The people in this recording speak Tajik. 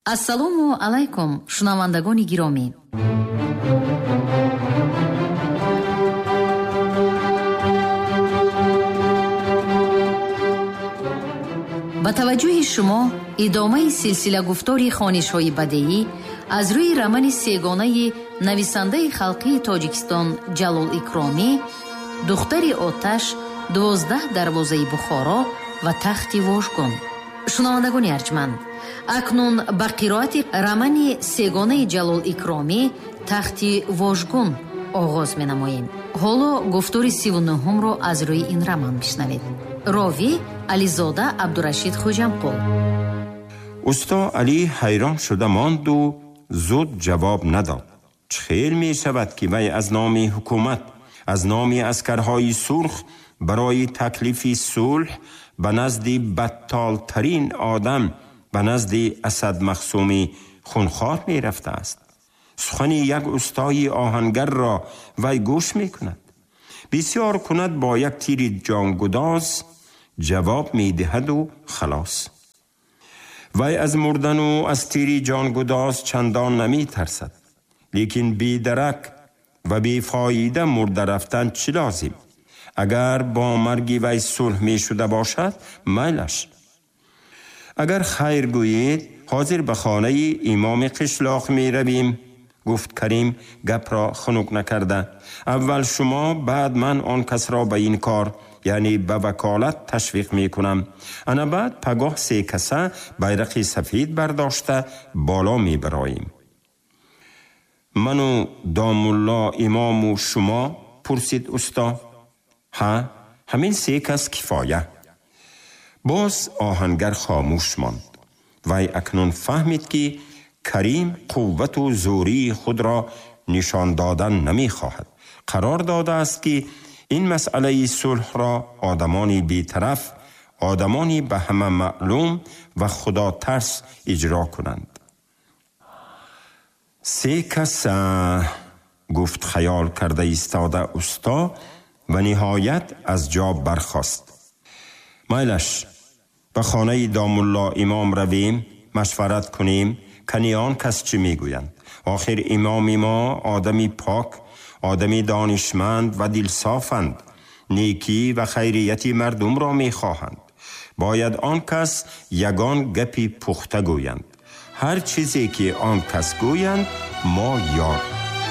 Ассалому алайкум, шунавандагони гиромӣ. Ба таваҷҷӯҳи шумо идомаи силсила гуфтори хонишҳои бадеӣ аз рӯи романи сегонаи нависандаи халқии Тоҷикистон Ҷалол Икромӣ «Духтари оташ», 12 дарвозаи Бухоро ва тахти Вожгон. Шунавандагони арҷманд, акнун ба қироати романи сегонаи Ҷалол Икромӣ «Тахти Вожгон» оғоз менамоем. Ҳоло гуфтори 39-ро аз рӯи ин роман бишнавед. Ровӣ Ализода Абдурашид Хуҷамқул. Усто Алӣ ҳайрон шуда монду зуд ҷавоб надод. Чӣ хел мешавад, ки вай аз номи ҳукумат, аз номи аскарҳои сурх барои таклифи сулҳ ба назди баттолтарин одам, ба назди Асад Махсуми хунхор мерафтааст? Сухани як устои оҳангарро вай гӯш мекунад. Бисёр кунад, бо як тири ҷонгудоз ҷавоб медиҳаду халос. Вай аз мурдану аз тири ҷонгудоз чандон наметарсад. Лекин бедарак ва бефоида мурда рафтан чӣ лозим? Агар бо марги вай сулҳ мешуда бошад, майлаш. Агар хайр гӯед, ҳозир ба хонаи имоми қишлоқ меравем, гуфт Карим гапро хунук накарда. Аввал шумо, баъд ман он касро ба ин кор, яъне ба ваколат ташвиқ мекунам. Ана баъд пагоҳ се каса байрақи сафед бардошта боло мебароем. Ману домулло имому шумо? Пурсид усто. Ҳа, ҳамин се кас кифоя. Боз оҳангар хомӯш монд. Вай акнун фаҳмид, ки Карим қуввату зӯрии худро нишон додан намехоҳад. Қарор додааст, ки ин масъалаи сулҳро одамони бетараф, одамони ба ҳама маълум ва худотарс иҷро кунанд. Се каса, гуфт хаёл карда истода усто ва ниҳоят аз ҷо бархост. Майлаш, ба хонаи домулло имом равем, машварат кунем, кани он кас чӣ мегӯянд. Охир имоми мо одами пок, одами донишманд ва дилсофанд, некӣ ва хайрияти мардумро мехоҳанд. Бояд он кас ягон гапи пухта гӯянд. Ҳар чизе ки он кас гӯянд, мо ёр.